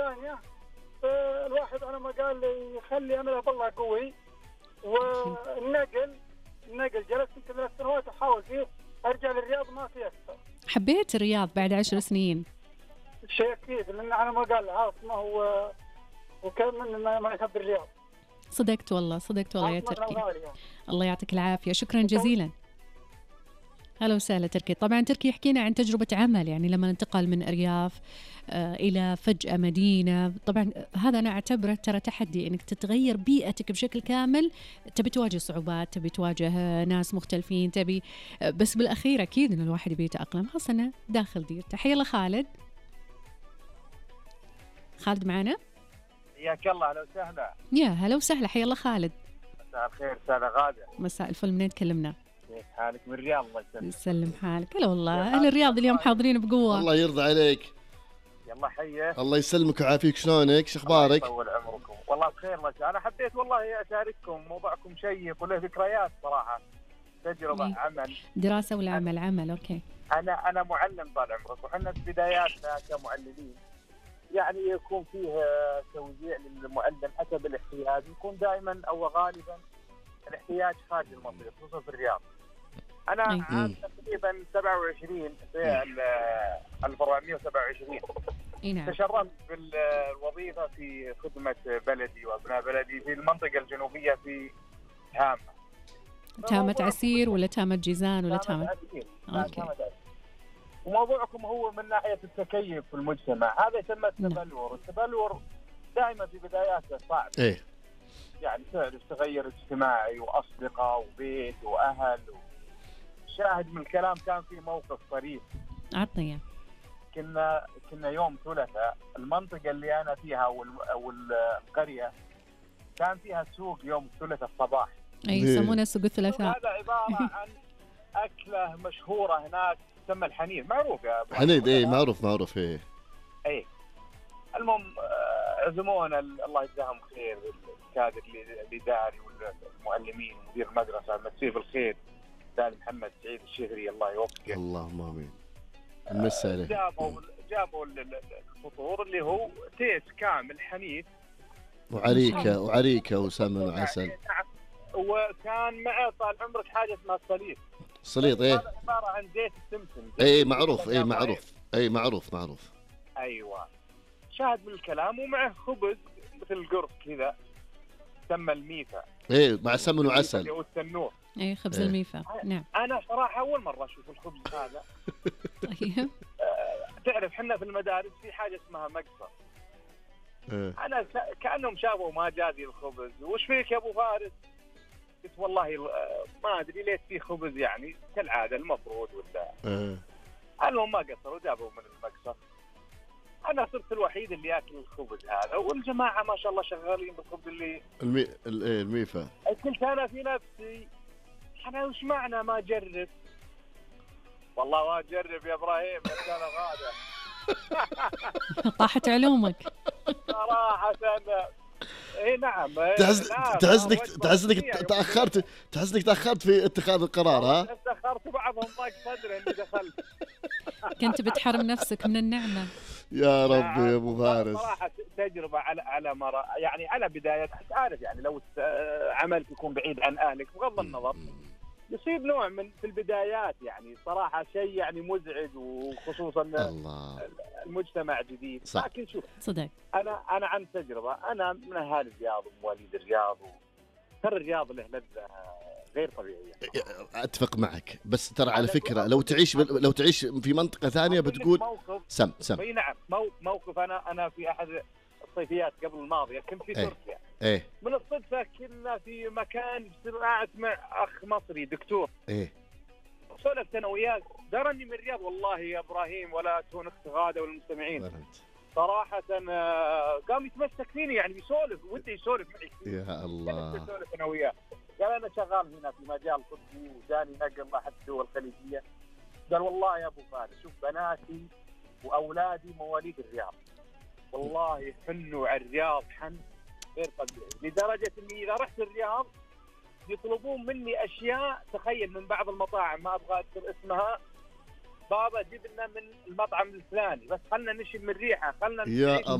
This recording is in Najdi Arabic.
الثانية الواحد أنا ما قال لي يخلي أنا والله قوي، والنقل جلست يمكن 3 سنوات أحاول فيه أرجع للرياض ما في أكثر. حبيت الرياض بعد 10 سنين؟ شيء أكيد، لأن أنا ما قال عاصمة وكان من ما يحب الرياض. صدقت والله يا تركي. الله يعطيك العافية، شكرا جزيلا. هلا وسهلا تركي. طبعا تركي يحكينا عن تجربة عمل، يعني لما انتقل من أرياف إلى فجأة مدينة. طبعا هذا أنا أعتبره ترى تحدي، إنك تتغير بيئتك بشكل كامل. تبي تواجه صعوبات، تبي تواجه ناس مختلفين، تبي بس بالأخير أكيد إن الواحد يبي يتأقلم، خاصة داخل ديرته. حيا الله خالد معنا. حياك الله. هلا وسهلا. يا هلا وسهلا، حيا الله خالد. مساء الخير أستاذة غادة. مساء الفل، منين تكلمنا؟ كيف حالك؟ من الرياض. الله يسلمك. يسلم حالك. هلا والله أهل الرياض اليوم حاضرين بقوة. الله يرضى عليك. يلا حيا. الله يسلمك وعافيك. شلونك؟ شو اخبارك؟ طول عمركم. والله بخير ما شاء. انا حبيت والله اشارككم، موضوعكم شيق وله ذكريات صراحه. تجربه عمل، دراسه ولا عمل. اوكي. انا معلم طال عمرك، وحنا في بداياتنا كمعلمين يعني يكون فيه توزيع للمعلم حسب الاحتياج، يكون دائما او غالبا الاحتياج خارج المنطقه خصوصا في الرياض. انا عام تقريبا 27 في 1427 تشرفت بالوظيفه في خدمه بلدي وابناء بلدي في المنطقه الجنوبيه في تامة عسير ولا تامة جيزان ولا تامة عسير. وموضوعكم هو من ناحيه التكيف في المجتمع، هذا يسمى التبلور. التبلور دائما في بداياته صعب. يعني تعرف تغير اجتماعي واصدقاء وبيت واهل شاهد من الكلام. كان في موقف طريف. عطني. كنا يوم ثلاثاء، المنطقة اللي أنا فيها والقرية كان فيها سوق يوم الثلاثاء الصباح. يسمونه سوق الثلاثاء. هذا عبارة عن أكلة مشهورة هناك تسمى الحنيذ. معروف يا أبو حنيذ؟ معروف. المهم عزمونا الله يجزاهم خير، الكادر الإداري والمعلمين ومدير المدرسة مسيه بالخير سالم محمد سعيد الشهري الله يوفقه. اللهم امين. المساله جابوا الفطور اللي هو تيس كامل حنيذ وعريكه وسمن وعسل. وكان معه طال عمرك حاجه اسمها الصليط. هذا عباره عن زيت السمسم. معروف. ايوه. شاهد من الكلام، ومعه خبز مثل القرص كذا تسمى الميفا. مع سمن وعسل. والتنور. خبز الميفا. نعم. انا صراحه اول مره اشوف الخبز هذا. طيب. تعرف حنا في المدارس في حاجه اسمها مقصر. انا كانهم شافوا ما جازي الخبز. وش فيك يا ابو فارس؟ قلت والله ما ادري ليش في خبز، يعني كالعاده المفروض ولا. المهم ما قصروا جابوا من المقصر. انا صرت الوحيد اللي ياكل الخبز هذا، والجماعه ما شاء الله شغالين بالخبز اللي الميفا. قلت انا في نفسي انا وش معنى ما اجرب؟ والله ما اجرب يا ابراهيم يا كان غاده. طاحت علومك صراحه. نعم. تحس انك تاخرت في اتخاذ القرار. ها تاخرت، بعضهم ضاق صدري اني دخلت. كنت بتحرم نفسك من النعمه. يا ربي يا ابو فارس. صراحه تجربه على يعني على بدايه. عارف يعني لو عملك يكون بعيد عن اهلك بغض النظر يصيب نوع من في البدايات، يعني صراحه شيء يعني مزعج، وخصوصا المجتمع جديد. لكن شوف صدق انا عن تجربه، انا من اهالي الرياض ومواليد الرياض، ترى الرياض له لذة غير طبيعيه. اتفق معك، بس ترى على فكره لو تعيش في منطقه ثانيه بتقول سم. اي نعم. موقف انا في احد الصيفيات قبل الماضيه كنت في تركيا. من الصدفه كنا في مكان اجتماعات مع اخ مصري دكتور. سولفت انا وياه، درني من الرياض والله يا ابراهيم ولا تهون اخت غاده والمستمعين. صراحه قام يتمسك فيني، يعني بيسولف ودي يسولف معي. يا الله. سولف انا وياه، قال انا شغال هنا في مجال طبي وجاني نقل لاحد الدول الخليجيه. قال والله يا ابو فارس شوف بناتي واولادي مواليد الرياض، والله يحنوا على الرياض حن غير طبيعي، لدرجه اني اذا رحت الرياض يطلبون مني اشياء. تخيل من بعض المطاعم ما ابغى اذكر اسمها، بابا جيب لنا من المطعم الفلاني بس خلنا نشم من ريحه، خلنا يا الله.